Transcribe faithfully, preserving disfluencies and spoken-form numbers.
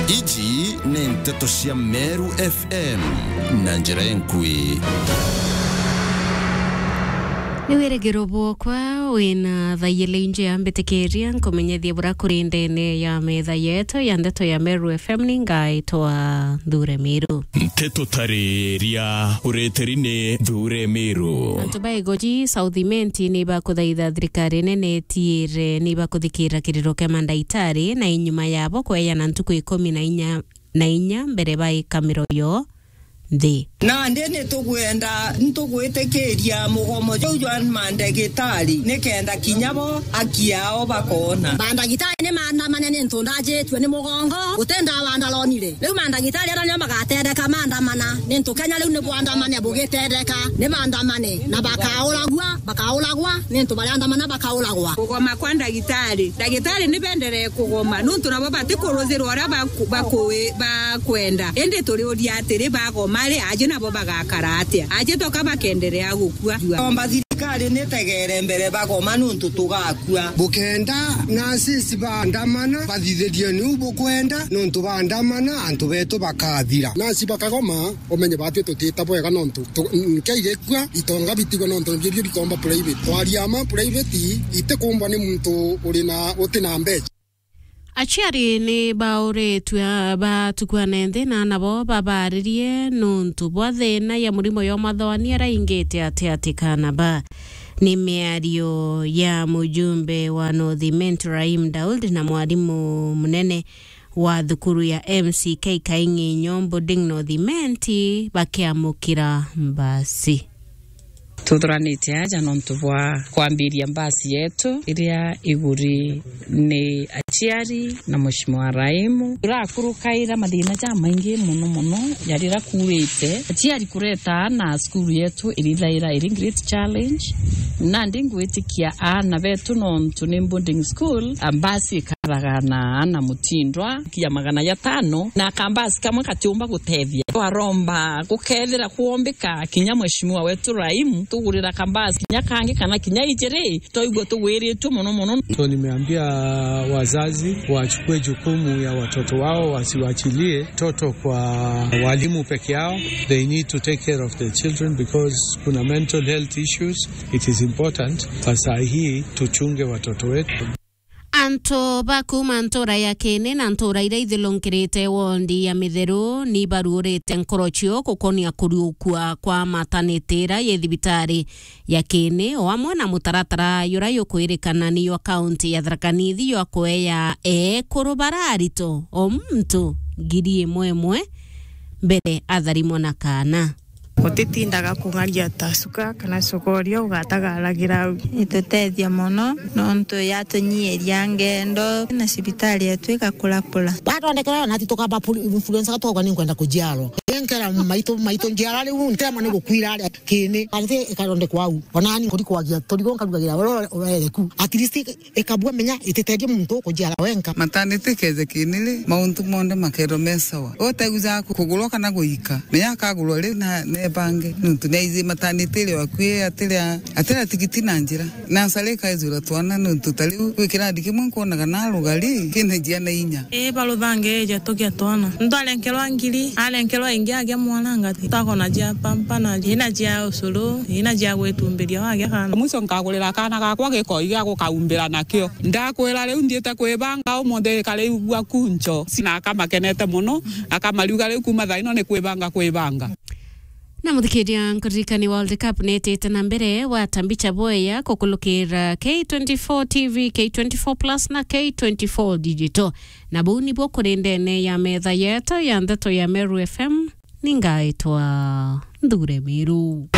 Iji ni nteto cia Meru F M na njira enkui. Ni wirigiro bwokwa wina thaiyele inje ya mbitikiria nkumenyethie bura kuri ndene ya metha yetu ya ndeto ya Meru F M. Ni ngaitwa Nthure Miru. Nteto tariria ureteri ni Nthure Miru. Antu ba Igoji South Imenti ni bakuthaitha thirikari nene itiire ni bakuthikira kiriro kia mandagitari na inyuma yabo kweyana ntuku ikumi na inya na inya mbere baika miroyo nthi. Nandi ni tugwenda, ntugwitikiria mugomo juu jwa mandagitari, nikenda kinya bo aki yao bakoona. Mandagitari ni maandamane ni ntu ndajitue ni mugongo, guti ndawa ndaronire. Riu mandagitari aria nio magatendeka maandamana, ni ntu Kenya riu ni bwandamane bugitendeka, ni maandamane, na bakauragua, bakauragwa, ni ntu bariandamana bakauragwa. Kugoma kwa ndagitari. Ndagitari ni benderee kugoma, nuntu nabo batikuruzirwa uria baku-, baku-, bakwenda. Indi turiuria atiri, bagoma ri, aji nabo bagakara atia? Aji toka bakenderea gukua? Omba thirikari nitegere mbere bagoma, nuntu tugakua. Bukenda nurses baandamana, bathithirie niu bukwenda, nuntu baandamana, antu betu bakathira. Nurse bakagoma, umenye bati tutita bwega, nontu tu-, nkei gikua, itonga bitigwe nontu nibio bikomba private. Twaria ma private, itikumbwa ni muntu uri na, uti na mbeca. Aciari ni bauritwe batukwane nthi na nabo babaaririe nuntu bwa thina ya murimo ya umathoani araingite ati ati kana ba. Ni miario ya mujumbe wa North Imenti Rahim Daud na mwarimu munene wa thukuru ya M C K Kaing'inyo Boarding North Imenti bakiamukira mbasi. Tuthuranite aja nontu bwa kwambiria mbasi yetu iria iguri ni aciari na Mheshimiwa Raimu. Turakurukaira mathina jamaingi mono mono jarira kuurite. Aciari kureta aana cukuru yetu irithaira iri great challenge. Nandi ngwitikia aana betu nontu ni boarding school, a mbasi ikaraga na aana mutindwa kia magana jatano, na kambasi kamwe katiumba gutethia. Twaromba gukethira kwombika kinya Mheshimiwa wetu Raimu, tugurira kambasi kinya kangi kana kinya ijiri, twaigua tugwiritue mono mono. So nimeambia wazazi wachukue jukumu ya watoto wao, wasiwachilie toto kwa walimu peke yao. They need to take care of their children because kuna mental health issues. It is important. Sasa hii tuchunge watoto wetu. Antu ba kuuma ntuura ya Kiini na ntuura iria ithilungirite wondi ya Mitheru ni baruurite nkoro cio gukonia kuriukua kwa mataniti iria yi thibitari ya Kiini, o amwe na mutaratara juria jukwirikana ni jwa kaunti ya Tharaka Nithi jwa kueya eekuru bara arito o muntu ngiri imwe imwe mbere atharimwa na kaana. Utitindaga kung'aria ta cuka kana cokoria ugatagaragira au. Itutethia mono nontu yatunyiiria ngendo na cibitari yetu igakurakura. Wathondekerwa nati tukamba pul-, influenza tukauga ni nkwenda kujiarwa. Nkera maitu, maitu njiara riu ntema ni gukwira aria Kiini. Ati ikathondekwa au. Onani nkuri kwagia turigo nkarugagira uria urereku. At least ikabua menya ititeethia muntu ukujiara wenka. Matanite kethekini ri, mauntu monthe makerwa me sawa. Uteuja kugurwa kana guika, menya akagurwa ri na nebange. Nuntu niaithi matanite ri wakui atira, atira tigiti na njira. Na nsari ikaijura twana nuntu ta riu gwi kirandi kimwe nkwonaga na rugari kina njia na inya. Ii, baruthange eja tugia twana. Ntu arenkerwa ngiri, arenkerwa ingi agia mwana ngati. Twakona jia pampa na ina jia ucuru, ina jia gwitumbiria wagia kana. Mwico nkagurira kana gakwa gikoi gia gukaumbira nakio. Ndakwira riu nthiite kwibanga umuthi kariigua kuncho. Sina akamakenete mono, akamariuga riu kuma thaino ni kwibanga kwibanga. Na muthikiria, nkuririkani World Cup nitite na mbere, wata mbicha bweya kukulukira K twenty-four T V, K twenty-four Plus na K twenty-four Digital. Na buu nibuo kuri ndene ya metha yetu ya ndeto ya Meru F M, ni ngaitwa Nthure Miru.